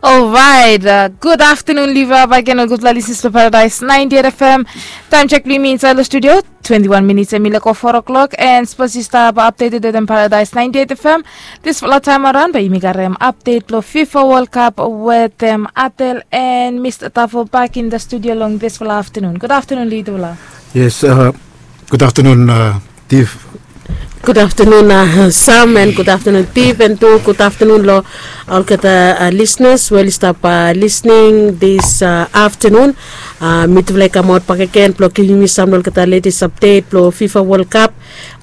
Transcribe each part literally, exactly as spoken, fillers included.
Orait, gud aftanun Liva, baik gen ol gudpela listeners blong Paradise ninety eight F M. Taem check blong yumi inside long studio, twenty one minutes em i leko four o'clock, and sapos yu stap updated wetem Paradise ninety eight F M, dispela taem around bai yumi garem update blong FIFA World Cup wetem Atel and Mr Tafo back in the studio long dispela aftanun. Gud aftanun Lidula. Yes, uh, gud aftanun uh, Tif. Gud aftanun uh, Sam, and gud aftanun Tif, and tu gud aftanun lo olgeta uh, listeners we oli stap uh, listening this uh, aftanun. Uh, mitufala i kamaot bakegen blong givim yumi sam lo olgeta latest update blong FIFA World Cup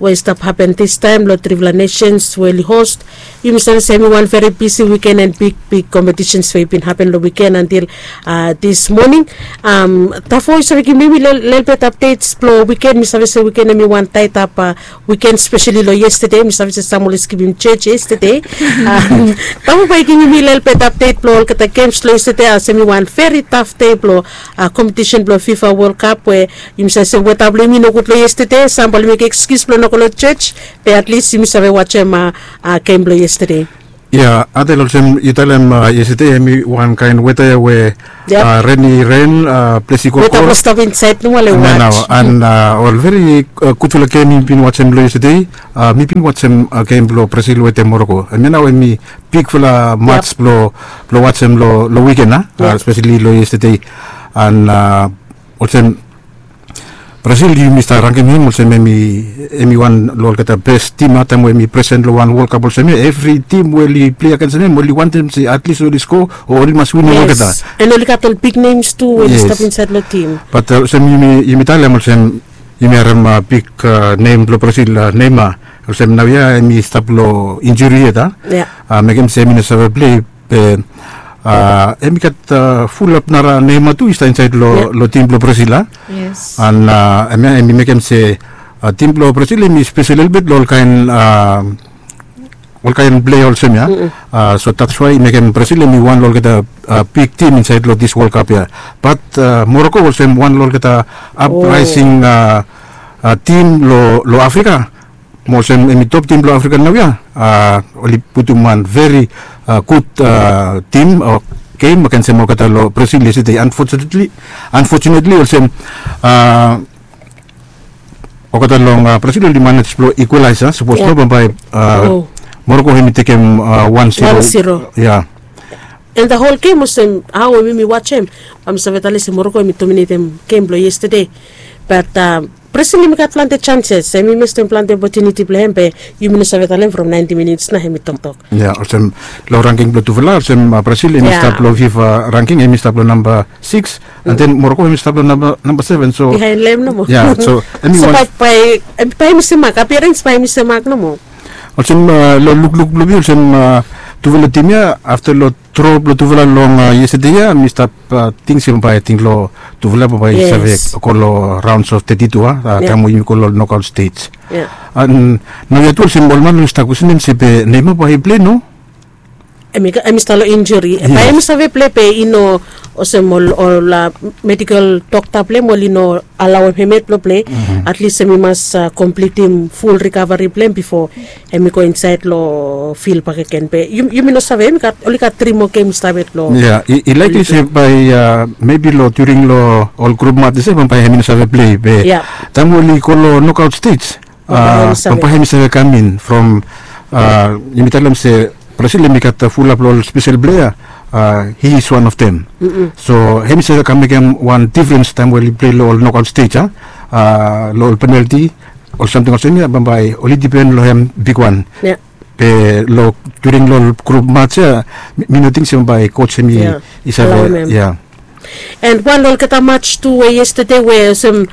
we i stap hapen distaem lo trifala nations we oli host. Yumi save se em i wan veri bisi wiken and big big competitions we i bin hapen long wiken antil uh, this morning. Um, Tafo, yu save givim mi lelbet updates blong wiken? Mi save se wiken em i wan taitap uh, wiken, spesali long yestede. Mi save se sam oli skipim church yestede. Um, Tafo bai givim mi lelbet update blong olgeta games long yestede, as em i wan veri taf dei blong uh, competition blong FIFA World Cup we yumi save se weta blong yumi nogud long yestede. Sam oli mekem excuse blong no go long church, be at least yumi save wajem uh, uh, game blong yestede. Ya, Adel, olsem yu talem uh, yestede em i wan kaen weta ya we uh, ren i ren, uh, ples i kokol. Weta blong stap insaed nomo le waj. Nao, and uh, ol veri uh, gudfala gem mi bin wajem long yestede. Uh, mi bin wajem uh, gem blong Brazil wetem Morocco. Em ya nao em i bigfala mats blong blong wajem long long wiken a, uh, spesali long yestede. And uh, olsem Brazil yumi stap rangim hem olsem em i em i wan long olgeta bes tim a taem we em i presen long wan World Cup olsem ya. Evri tim we oli plei agens hem oli wantem se at least oli sko o oli mas winim olgeta. Yes. And oli gat ol big names tu we oli stap insaed long tim. Bat olsem yumi yumi talem olsem yumi harem big nem blong Brazil, Neymar, olsem naoia em i stap long injuri yet a mekem se em i no save plei. Be em i gat fulap nara Neymar tu i stap insaed long tim blong Brazil a. An em ya em i mekem se tim blong Brazil em i spesel lelebet long olkaen olkaen plei olsem ya. So that's why i mekem Brazil em i wan long olgeta big tim insaed long dis World Cup ya. Bat Morocco olsem wan long olgeta apraising tim long Afrika. Mo olsem em i top tim blong Afrika naoia. Oli putum wan veri gud tim o gem agensem olgeta long Brazil yestede. Unfortunately, unfortunately olsem olgeta long Brazil oli manej blong equalize a. Sapos no bambae Morocco hem i tekem wan zero. Ya. And the whole game olsem hao em yumi wajem, bae mi save talem se Morocco hem i dominatem gem blong yestede. Bat Brazil hem i gat plante chances, hem i mestem plante opotuniti blong hem be yumi no save talem from ninety minits nao hem i toktok. Ya, olsem long rangking blong tufala olsem Brazil hem i stap long FIFA rangking, hem i stap long namba six, and then Morocco hem i stap long namba seven. So bihaen long hem nomo. Ya, so hem i wan. Bae hem i semak, appearance bae hem i semak nomo. Olsem long lukluk blong mi olsem tufala tim ya afta long dro blong tufala long yestede ya mi stap ting se bambae ating long tufala bambae i save go long rounds of thirty-two a, taem we yumi go long knockout stage. An naoia tu olsem ol man oli stap kwesenem se be Neymar bae i plei no. Hem i stap long injuri. Bae hem i save plei be i no olsem ol medical dokta blong hem oli no alaoem hem yet blong plei. At least hem i mas komplitim ful rikavari blong hem bifo hem i go insaed long fil bakegen. Be yumi no save, hem i gat oli gat tri moa gem i stap yet long. Ya, i laik se bae mebi long during long ol grup mats ya bambae hem i no save plei be taem we oli go long knockout stage bambae hem i save kam in from yumi talem se Brazil hem i gat fulap long ol spesel plea. He is one of them. So hem i save kam mekem wan difrens taem we oli plei long ol knockout stage a, long ol penalti, ol samting olsem ya bambae oli dipen long hem bigwan. Be long during long ol grup mats ya mi no ting se bambae coach hem i save. Ya. And wan long olgeta mats tu we yestede we olsem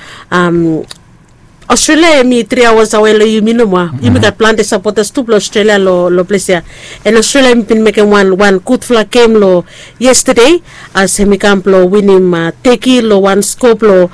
Australia hem i tri aoas awe long yumi nomo a. Yumi gat plante sapotas tu blong Australia long ples ya. And Australia hem i bin mekem wan wan gudfala gem long yestede, as hem i kam blong winim Teki long wan skoa blong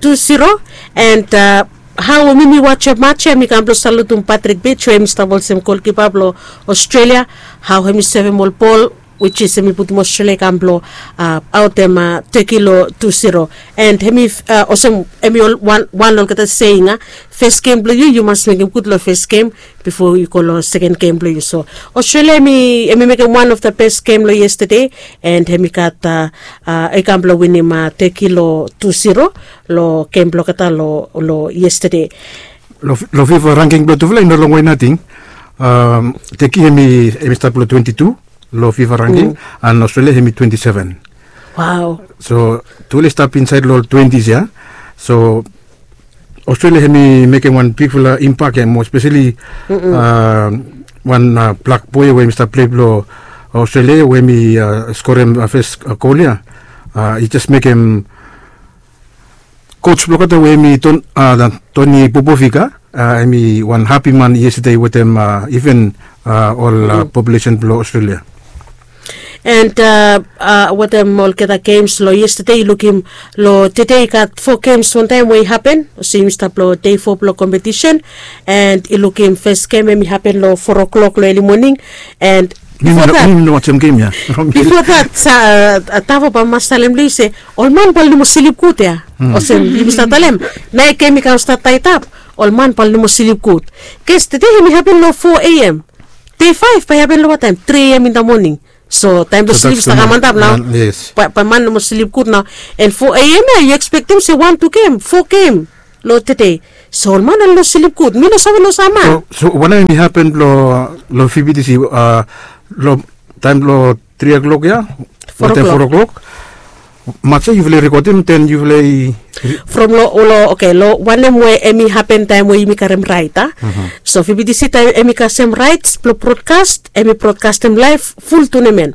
tu zero. And hao hem i wajem mats ya hem i kam blong salutum Patrick Beach we hem i stap olsem golkipa blong Australia, hao hem i sevem ol bol Which is hemi putum Australia i kam blong aotem Turkey long tu zero. And hemi olsem hemi wan long olgeta seing a, fes gem blong yu yu mas mekem gud long fes gem bifo yu go long seken gem blong yu. So Australia hemi mekem wan of the best gem long yestade, and hemi gat i kam blong winim Turkey long tu zero long gem blong olgeta long yestade. Long fifa rangking blong tufala i no longwe nating. Turkey hemi stat blong twenti tu long fifa rangking, and Australia hemi twenti seven. Wow. So tufala i stap insaed long ol twentis ya. So Australia hemi mekem wan bigfala impak ya mo, espeseli wan blak boe we hemi stap plei blong Australia we hemi skorem fes gol ya. I jes mekem coach blong olgeta we hemi Tony Popovic, hemi wan hapi man yestade wetem iven ol populesen blong Australia. And wetem olgeta gems long yestade, yu lukim long tede i gat fo gems wantaem we i hapen. Olsem yumi stap long dei fo blong kompetisen, and yu lukim fes gem hemi hapen long fo klok long eli moning. And bifo dat, bifo dat, Tavo, bae mi mas talem long yu se ol man bae oli no moa slip gud ya. Olsem yumi stap talem, naoia gem i kam stat taetap, ol man bae oli no moa slip gud. Bikos tede hemi hapen long fo a.m. Dei faef bae i hapen long wataem? Tri a.m. in the morning. So taem blong slip i stap kam antap nao. Bae man no moa slip gud nao. And fo a.m. ya yu ekspektem se wan tu gem, fo gem long tede. So ol man oli no slip gud, mi no save long sam man. So wanem i hapen long fbtc long taem blong tri o'clock ya? Fo o'clock. Mats ya yufala i rekodem, den yufala i... From long, long, oke, long wanem we hemi hapen taem we yumi karem raet a. So fbtc taem hemi kasem raets blong brodkas, hemi brodkastem laef ful tunemen.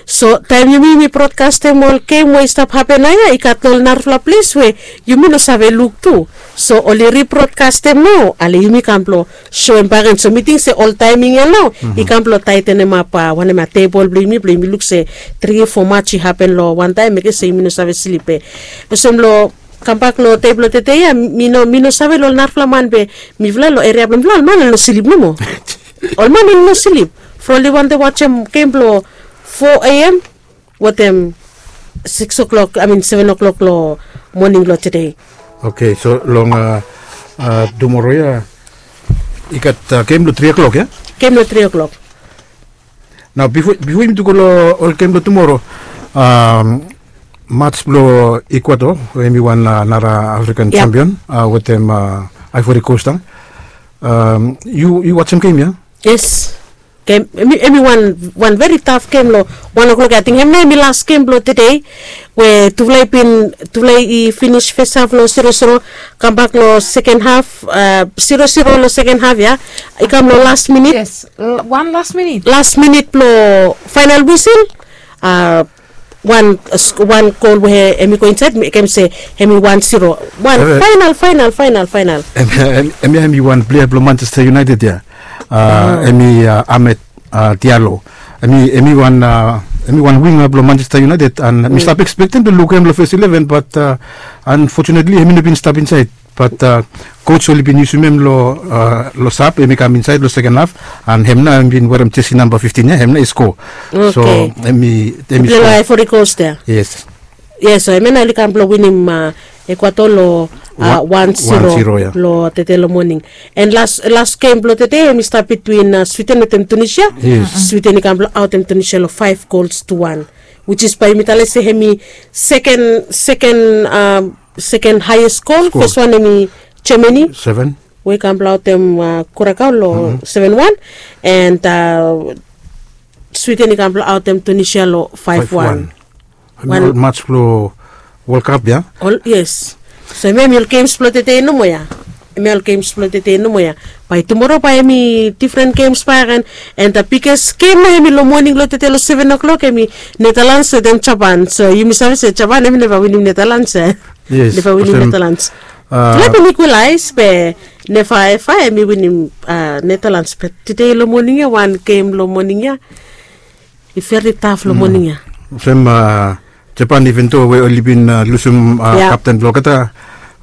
So taem yumi yumi brodkastem ol gem we i stap hapen naoia, i gat long ol narafala ples we yumi no save luk tu. So oli ribrodkastem nao ale yumi kam blong soem bakegen. So mi ting se ol taeming ya nao i kam blong taetenem ap wanem ya, tebol blong yumi blong yumi luk se tri fo mats i hapen long wantaem, mekem se yumi no save slip. Be olsem long kambak long dei blong tede ya, mi no, mi no save long ol narafala man be mifala long eria blong mifala ol man oli no slip nomo. Ol man oli no slip. From oli wantem wajem gem blong fo a.m. wetem sikis o'clock, I mean seven o'clock long moning long tede. Oke, so long tumoro ya i gat gem long tri o'clock ya? Gem long tri o'clock. Nao bifo, bifo yumi tu go long ol gem blong tumoro, mats blong Ecuador we hemi wan nara African champion wetem Ivory Coast a, yu, yu wajem gem ya? Yes. Gem, hemi, hemi wan, wan veri taf gem long wan o'clock ya. Ating hemia hemi las gem blong tede we tufala i bin, tufala i finis fes haf long zero zero, kambak long seken haf, zero zero long seken haf ya. I kam long las minit. Yes, wan las minit. Las minit blong faenal wisil, wan, wan gol we hemi go insaed, mekem se hemi wan zero. Wan faenal, faenal, faenal, faenal. Hemia hemi wan plea blong Manchester United ya. Hemi Amad Diallo. Hemi, hemi wan, hemi wan winga blong Manchester United, and mi stap ekspektem blong lukim hem long fes eleven, bat unfortunately hemi no bin stap insaed. Bat coach oli bin yusum hem long, long sab, hemi kam insaed long seken haf, and hem nao hemi bin werem jesi namba fiftin ya, hem nao i skoa. So hemi, hemi skoa long Ivory Coast ya. Yes. Yes, so hemia nao oli kam blong winim Ecuador long wan zero long tede long moning. And las, las gem blong tede hemi stap bitwin Sweden wetem Tunisia. Sweden i kam blong aotem Tunisia long five goals to one, which is bae yumi talem se hemi seken, seken, seken haes gol. Fes wan hemi Germany we i kam blong aotem Curacao long seven one, and Sweden i kam blong aotem Tunisia long five one. Ol mats blong World Cup ya? Yes. So hemia hemi ol gems blong tede nomo ya. Hemia ol gems blong tede nomo ya. Bae tumoro bae hemi difren gems bakegen. And the biggest gem nao hemi long moning long tede long seven o'clock, hemi Netherlands wetem Japan. So yumi save se Japan hemi neva winim Netherlands ya. Neva winim Netherlands. Tufala bin ekwalaes be neva eva hemi winim Netherlands. Be tede long moning ya, wan gem long moning ya i veri taf long moning ya. Olsem Japan, iven do we oli bin lusum kapten blong olgeta,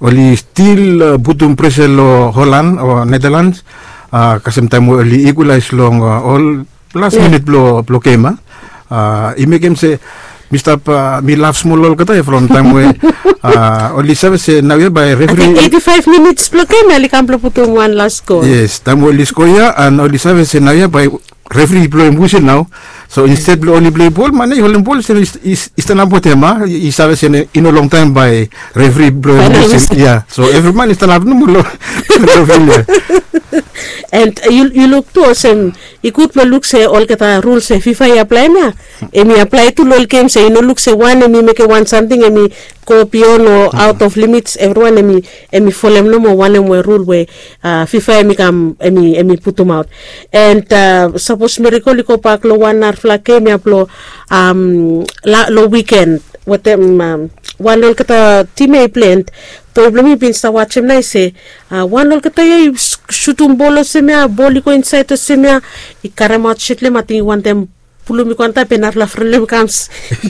oli stil putum presa long Holland o Netherlands, kasem taem we oli ekwalaes long ol las minit blong, blong gem a. I mekem se mi stap mi laf smol olgeta ya from taem we oli save se naoia bae refri. Eighty five minits blong gem ya oli kam blong putum wan las gol. Yes, taem we oli skoa ya an oli save se naoia bae refri i bloem wisel nao. So insted blong oli bloi bol man ya i holem bol se i stanap wetem a i save se i no longtaem bae refri bloem wisel ya. So evri man i stanap nomo long fil ya. And yu luk tu olsem i gud blong luk se olgeta rul se fifa i aplaem ya em i aplae tu long ol gem se i no luk se wan em i mekem wan samting em i go bion o aot of limits evriwan em i folem nomo wanem we rul we fifa em i kam em i putumaot. And sapos mirikol i gobak long wan narafala gem ya blong long wiken wetem wan long olgeta tim ya i plen. Boi blong mi bin stap wajem nao i se wan long olgeta ya i sutum bol olsem ya bol i go insaed olsem ya i karemaot shet long em ating i wantem pulum i go antap be narafala fren long em i kam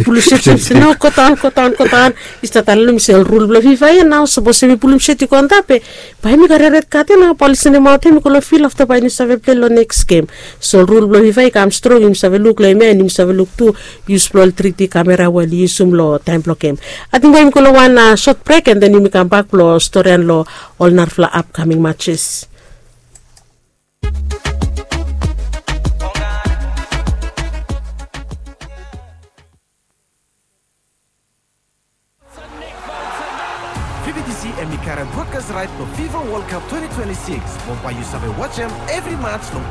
pulum shet shet se no godaon godaon godaon. I stap talem long mi se ol rul blong fifa ya nao sapos em i pulum shet i go antap be bae mi karim red kad ya nao bae oli sendemaot em i go long fil afta bae yumi save plei long neks gem. So rul blong fifa i kam strong yumi save luk long em ya and yumi save luk tu yus blong ol tri d kamera we oli yusum long taem blong gem. Ating bae yumi go long wan sot brek and then yumi kambak blong storian long ol narafala apkaming matches. Vbtc em i karim brodkas raet blong fifa wol kap twenty twenty six mo bae yu save wajem evri mats long